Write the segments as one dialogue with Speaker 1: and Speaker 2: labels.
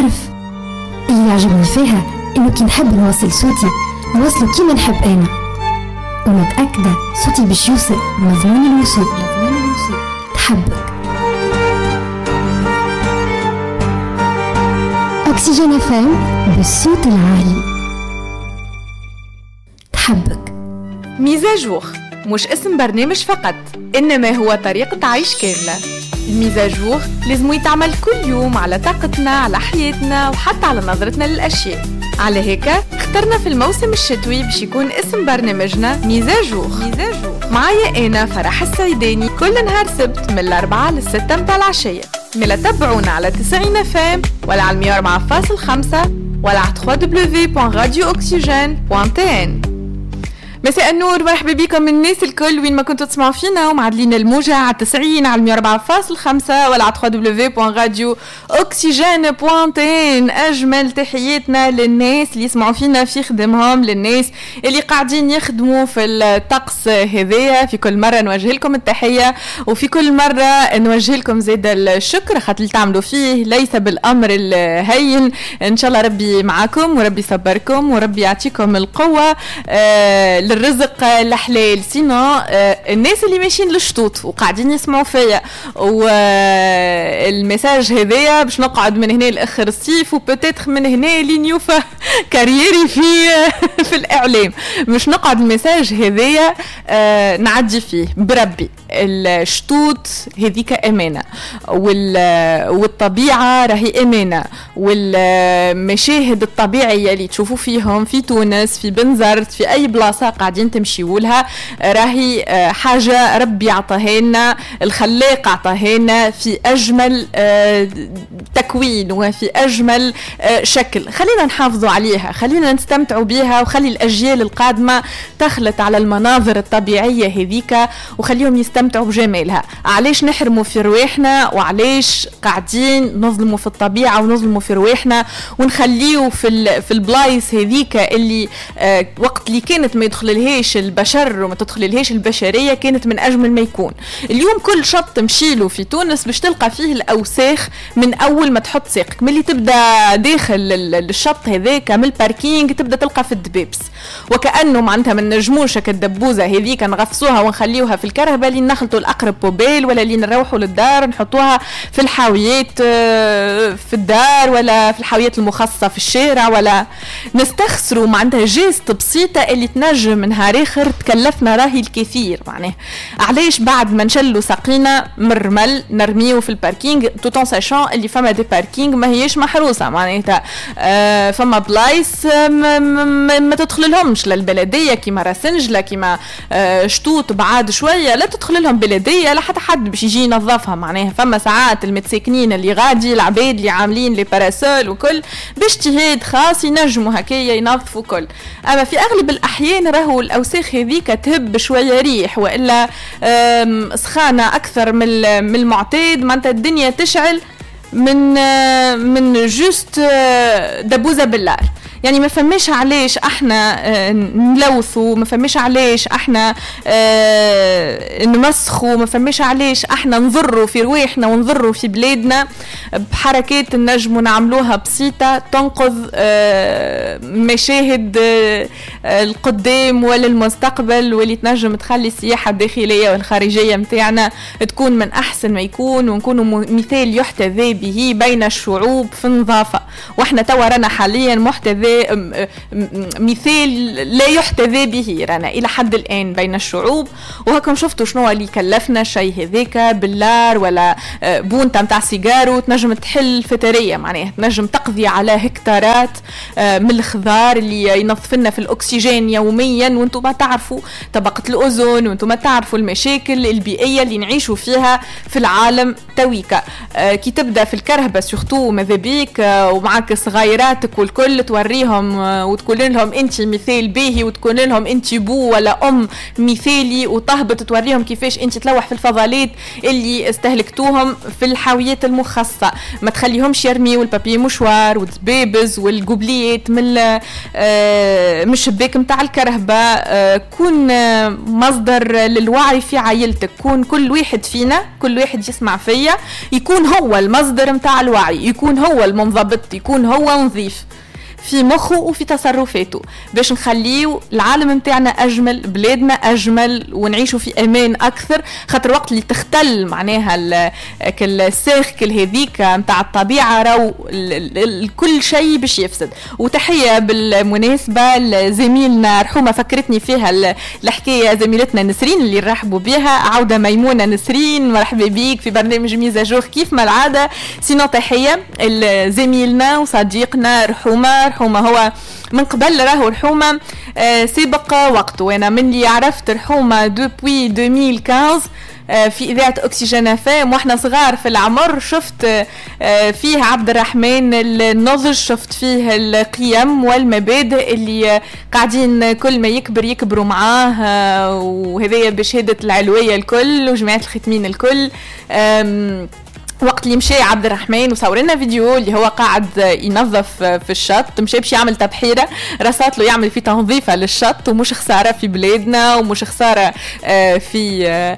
Speaker 1: تعرف اللي يعجبني فيها إنه كي نحب نوصل صوتي نوصله كيما نحب أنا، ومتأكدة صوتي باش يوصل مضمون الوصول. تحبك أكسجين FM بالصوت العالي. تحبك.
Speaker 2: mise à jour مش اسم برنامج فقط، إنما هو طريقة عيش كاملة. ال mise à jour لازم يتعمل كل يوم على طاقتنا، على حياتنا، وحتى على نظرتنا للأشياء. على هيك اخترنا في الموسم الشتوي باش يكون اسم برنامجنا mise à jour. معايا أنا فرح السعيداني كل نهار سبت من 4 ل6 متاع العشية. ملا تبعونا على 90 FM ولا على 104.5 ولا على www.radiooxygene.tn. مساء النور، مرحبا بكم الناس الكل وين ما كنتوا تسمعوا فينا ومعدلين الموجة على 90 على 104.5 ولا على www.radiooxygene.tn. أجمل تحياتنا للناس اللي يسمعوا فينا في خدمهم، للناس اللي قاعدين يخدموا في الطقس هذايا. في كل مرة نوجه لكم التحية، وفي كل مرة نوجه لكم زيد الشكر خاطر اللي تعملوا فيه ليس بالأمر الهين. إن شاء الله ربي معاكم وربي يصبركم وربي يعطيكم القوة الرزق الحلال. sinon الناس اللي ماشيين للشطوط وقاعدين يسمعوا فيا وال message هذايا باش نقعد من هنا لاخر الصيف و peut-être من هنا لين يوفى carrière ي في الاعلام، مش نقعد ال message هذايا نعدي فيه بربي. الشطوط هذيك امانه، والطبيعة راهي امانه، والمشاهد الطبيعية اللي تشوفوا فيهم في تونس، في بنزرت، في اي بلاصة قاعدين تمشيولها راهي حاجة ربي عطاها لنا، الخلاق عطاها لنا في أجمل تكوين وفي أجمل شكل. خلينا نحافظوا عليها، خلينا نستمتعوا بيها، وخلي الأجيال القادمة تخلط على المناظر الطبيعية هذيك وخليهم يستمتعوا بجمالها. علاش نحرموا في رواحنا وعلاش قاعدين نظلموا في الطبيعة ونظلموا في رواحنا ونخليو في البلايص هذيك اللي وقت اللي كانت ما يدخل لهاش البشر وما تدخل لهاش البشرية كانت من أجمل ما يكون. اليوم كل شط تمشيله في تونس باش تلقى فيه الأوساخ من أول ما تحط ساقك، من اللي تبدأ داخل الشط هذاك من ال parking تبدأ تلقى في الدبابس، وكأنه معناتها من نجموش الدبوزة هذيك نغفصوها ونخليوها في الكرهبة اللي نخلطوا الأقرب poubelle، ولا اللي نروحوا للدار نحطوها في الحاويات في الدار ولا في الحاويات المخصصة في الشارع، ولا نستخسروا معناتها geste بسيطة اللي تنجم نهار اخر تكلفنا راهي الكثير. معناه علاش بعد ما نشلو ساقينا من الرمل نرميو في ال parking، tout en sachant اللي فما des parkings ما هيش محروسه، معناتها فما بلايص ما تدخل لهمش للبلديه كيما راسنجله كيما شطوط بعاد شوية، لا تدخل لهم بلديه لا حتى حد باش يجي ينظفها. معناها فما ساعات المتساكنين اللي غادي، العباد اللي عاملين les parasols وكل باجتهاد خاص ينجموا هكايا ينظفوا كل، اما في اغلب الاحيان راهو الاوساخ هذيك تهب شوية ريح والا سخانه اكثر من المعتاد، معناتها الدنيا تشعل من juste دبوزه باللار. يعني ما فماش علاش احنا نلوثوا، ما فماش علاش احنا نمسخوا، ما فماش علاش احنا نضروا في رواحنا ونضروا في بلادنا بحركات نجموا نعملوها بسيطة تنقذ مشاهد القدام ولا المستقبل، واللي تنجم تخلي السياحة الداخلية والخارجية متاعنا تكون من أحسن ما يكون، ونكونوا مثال يحتذى به بين الشعوب في النظافة. واحنا توا رانا حاليا محتذى مثال لا يحتذى به رانا إلى حد الآن بين الشعوب، وهكم شفتوا شنو اللي كلفنا شيء هذاك باللار ولا بونتا متاع سيجارو تنجم تحل فترية، معناها تنجم تقضي على هكتارات من الخضار اللي ينظفنا في الأكسجين يوميا. وانتم ما تعرفوا طبقة الأوزون، وانتم ما تعرفوا المشاكل البيئية اللي نعيشوا فيها في العالم تويكا. كي تبدأ في الكرهبة surtout ماذا بيك ومعك صغيراتك والكل توري توريهم وتقول لهم انت مثال باهي، وتكون لهم انت بو ولا ام مثالي، وتهبط توريهم كيفاش انت تلوح في الفضلات اللي استهلكتوهم في الحاويات المخصصة. ما تخليهمش يرميوا ال papier mouchoir والدبابز والجوبليات من الشباك نتاع الكرهبة. كون مصدر للوعي في عائلتك، كون كل واحد فينا، كل واحد يسمع فيا يكون هو المصدر نتاع الوعي، يكون هو المنضبط، يكون هو نظيف في مخه وفي تصرفاته، باش نخليو العالم متاعنا أجمل، بلادنا أجمل، ونعيشوا في أمان أكثر. خاطر وقت اللي تختل معناها ال cercle هذيك متاع الطبيعة، راو كل شيء باش يفسد. وتحية بالمناسبة لزميلنا رحومة، فكرتني فيها الحكاية زميلتنا نسرين اللي رحبوا بها. عودة ميمونة نسرين، مرحبا بيك في برنامج mise à jour كيف ما العادة. sinon تحية لزميلنا وصديقنا رحومة. رحومة هو من قبل راهو رحومة سابق وقته، وانا من اللي عرفت رحومة depuis 2015 في إذاعة أكسجين FM واحنا صغار في العمر، شفت فيه عبد الرحمن النضج، شفت فيه القيم والمبادئ اللي قاعدين كل ما يكبر يكبروا معاه، وهذايا بشهادة العلوية الكل وجماعة الختمين الكل. وقت اللي مشى عبد الرحمن وصور لنا فيديو اللي هو قاعد ينظف في الشط، مشى باش يعمل تبحيره، رصات له يعمل في تنظيفه للشط، ومش خسارة في بلادنا ومش خسارة في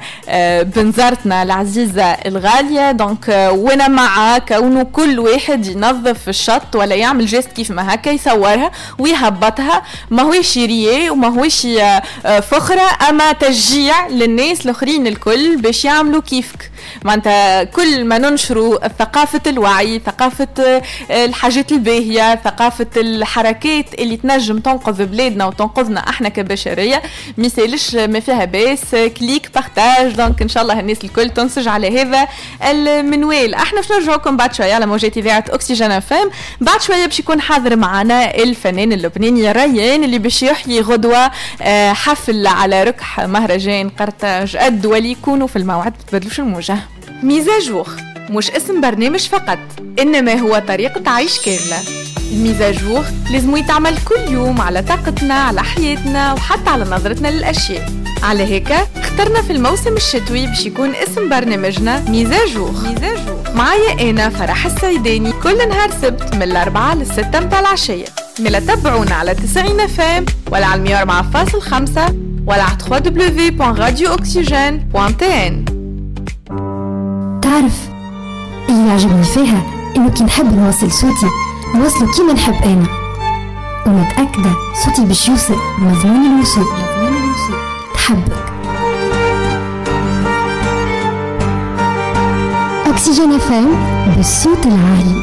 Speaker 2: بنزرتنا العزيزة الغالية. donc وانا مع كونه كل واحد ينظف الشط ولا يعمل geste كيف ما هكا يصورها ويهبطها، ما هوش رياء وما هوش فخره، اما تشجيع للناس الاخرين الكل باش يعملوا كيفك. معناتها كل ما ننشروا ثقافة الوعي، ثقافة الحاجات الباهية، ثقافة الحركات اللي تنجم تنقذ بلادنا وتنقذنا احنا كبشرية، ميسالش ما فيها باس، clic partage. donc ان شاء الله الناس الكل تنسج على هذا المنوال. احنا باش نرجعوكم بعد شوية على موجات إذاعة أكسجين FM. بعد شوية باش يكون حاضر معنا الفنان اللبناني ريان اللي باش يحيي غدوة حفل على ركح مهرجان قرطاج الدولي. كونوا في الموعد، تبدلوش الموجة. mise à jour مش اسم برنامج فقط، إنما هو طريقة عيش كاملة. ال mise à jour لازم يتعمل كل يوم على طاقتنا، على حياتنا، وحتى على نظرتنا للأشياء. على هيك اخترنا في الموسم الشتوي باش يكون اسم برنامجنا mise à jour. معايا أنا فرح السيداني كل نهار سبت من 4 ل6 متاع العشية. ملا تبعونا على 90 FM ولا على 104.5 ولا على www.radiooxygene.tn.
Speaker 1: تعرف اللي يعجبني فيها انه كي نحب نوصل صوتي نوصله كيما نحب انا، ومتأكدة صوتي باش يوصل مضمون الوصول. تحبك أكسجين FM بالصوت العالي.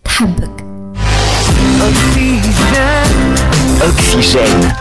Speaker 1: تحبك
Speaker 3: أكسجين.